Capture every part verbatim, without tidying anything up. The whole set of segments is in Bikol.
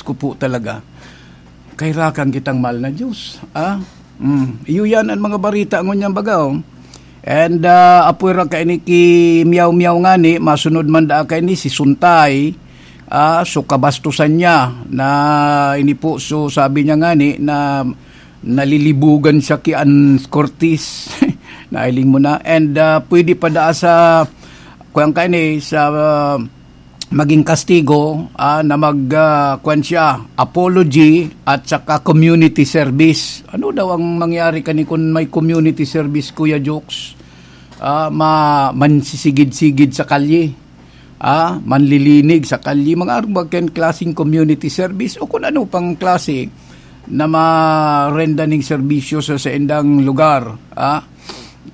ko po talaga. Kairakan kitang mahal na Diyos. Ah? Mm. Iyo yan ang mga barita ngunyan baga, oh. And, ah, apoy ra kaini ki Miyaw Miyaw ngani, masunod man daa kaini si Suntay. Ah, so kabastusan niya na ini po, so sabi niya ngani na nalilibugan siya ki Ann Curtis. Nailing mo na. And, ah, pwede pa daa sa, kuwan kaini, sa, ah, maging kastigo, ah, na mag, ah, kwan siya, apology at saka community service. Ano daw ang mangyari kani kun may community service, Kuya Jokes? Ah, ma-, mansisigid-sigid sa kalye. Ah, manlilinig sa kalye. Mga arog ba kan klaseng community service o kun ano pang klase na marenda ning serbisyo sa saindang lugar. Ah,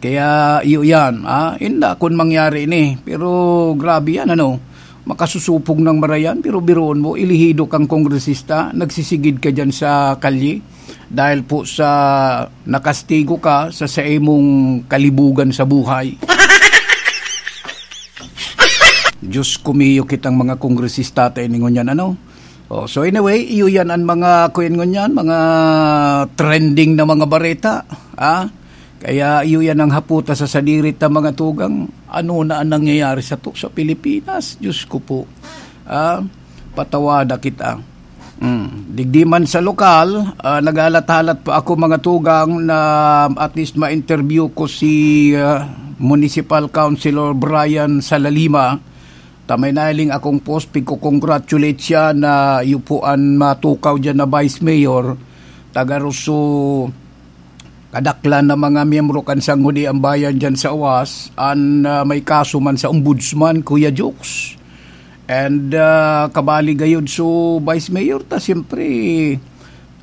kaya iyo yan, ah, inda kun mangyari ini. Pero grabe yan, ano, makasusupog ng marayan, pero biruon mo, elehido kang kongresista, nagsisigid ka dyan sa kalye dahil po sa nakastigo ka sa, sa imong kalibugan sa buhay. Diyos ko mio, kitang mga kongresista tayo ningon yan, ano? Oh, so anyway, iyo yan ang mga, kuyan ngunyan, mga trending na mga bareta, ah? Kaya iyo yan ang haputa sa sadiri ta mga tugang. Ano na ang nangyayari sa to sa Pilipinas? Diyos ko po. Ah, patawada kita. Mm. Digdi man sa lokal, ah, naghalat-halat pa ako mga tugang na at least ma-interview ko si, ah, Municipal Councilor Brian Salalima. Ta may nailing akong post, pigko-congratulate siya na iyo po an matukaw diyan na Vice Mayor, taga Rosso. Kadaklan na mga miyembro kan Sangguniang Bayan diyan sa Oas, an, ah, may kaso man sa Ombudsman, Kuya Jokes. And, ah, kabali gayod so Vice Mayor ta, siyempre,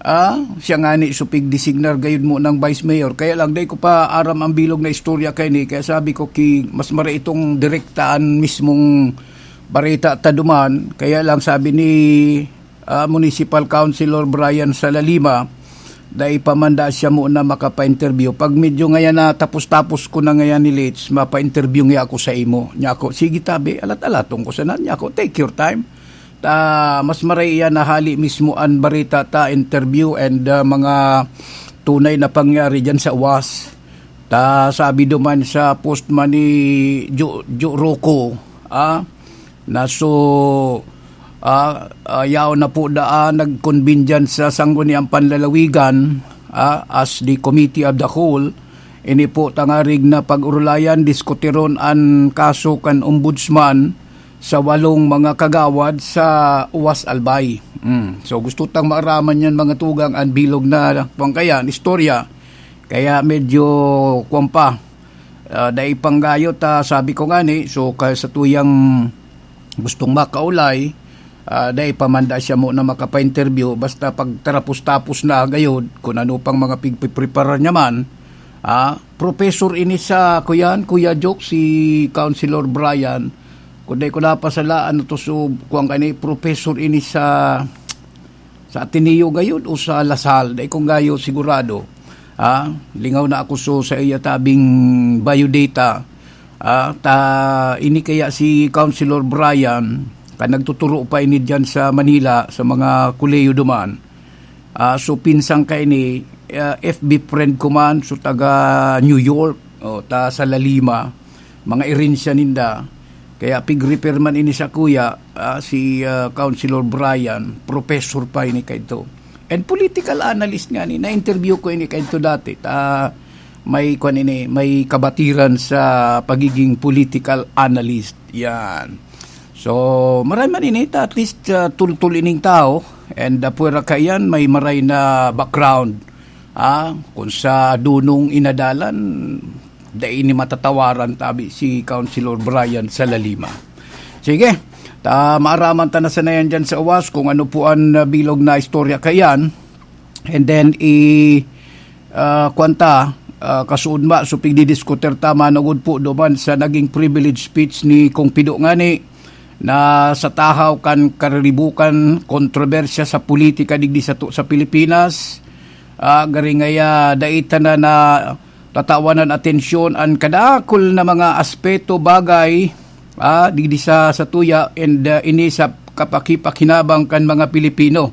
ah, siya ngani so pigdesignar gayod mo ng Vice Mayor. Kaya lang, dai ko pa aram ang bilog na istorya kaini. Kaya sabi ko, ki, mas mara itong direktaan mismong bareta ta duman. Kaya lang, sabi ni, ah, Municipal Councilor Brian Salalima, dai pa man da siya muna makapa-interview. Pag medyo ngayon na tapos-tapos ko na ngayon ni Litz, mapa-interview niya ako sa imo. Niya ako, "Sige, tabi, alat-alaton ko sana." Niya ako, "Take your time." Ta, mas maray iyan na hali mismo an barita ta, interview, and, ah, mga tunay na pangyari diyan sa Oas. Ta, sabi duman sa post man ni Jo, Jo Rocco, ah, na so, ah, ah, yaon na po daan nag-convene diyan sa Sangguniang Panlalawigan, ah, as the Committee of the Whole. Ini po tangarig na pag-urulayan, diskutiron an kaso kan Ombudsman sa walong mga kagawad sa Oas Albay. Mm. So, gusto tang maaraman yan, mga tugang, ang bilog na, kwan kayan, istorya. Kaya medyo, kwan pa, ah, dai pang gayo ta, sabi ko nga ni, so, ka-, sa tuyang gustong makaulay, ah, dai pa man da siya muna makapa-interview, basta pagtarapos-tapos na gayod, kung ano pang mga pigpipreparar niya man, ah, professor ini sa, kuyan, Kuya Joke, si Councilor Brian, kung dai ko napasala, ano to, so, kuwan ka ni, professor ini sa, sa Ateneo gayod o sa La Salle, dai ko gayo sigurado. Ah, lingaw na ako so sa iya tabing biodata. Ah, ta, ini kaya si Councilor Brian, ka nagtuturo pa ini diyan sa Manila, sa mga kolehiyo duman. Ah, so, pinsang ka ini, ah, F B friend ko man, so, taga New York, o, ta sa La Lima, mga erensya ninda. Kaya pig-refer man ini sa kuya, ah, si, ah, Councilor Brian, professor pa ini kaito. And political analyst nga ni, na-interview ko ini kaito dati. Ta, may, kwan ini, may kabatiran sa pagiging political analyst. Yan. So, maray man ini, ta, at least, ah, tultol ining tao. And, ah, pwera ka yan, may maray na background. Ah, kung sa dunong inadalan, dai ni matatawaran tabi si Councilor Brian sa La Lima. Sige, ta, maaraman ta na sana yan dyan sa Oas kung ano po ang, ah, bilog na istorya kayan. And then, i, ah, kwan ta, ah, kasuod ma, so pigdidiskutir ta, manugod po duman sa naging privilege speech ni Kong Pido ngani, na sa tahaw kan kariribukan, kontrobersya sa politika digdi sato sa Pilipinas, ah, gari ngaya dai ta na, na tatawanan atensyon an kadakul na mga aspeto, bagay, ah, digdi sa, sa tuya, and, ah, ini sa kapakipakhinabang kan mga Pilipino.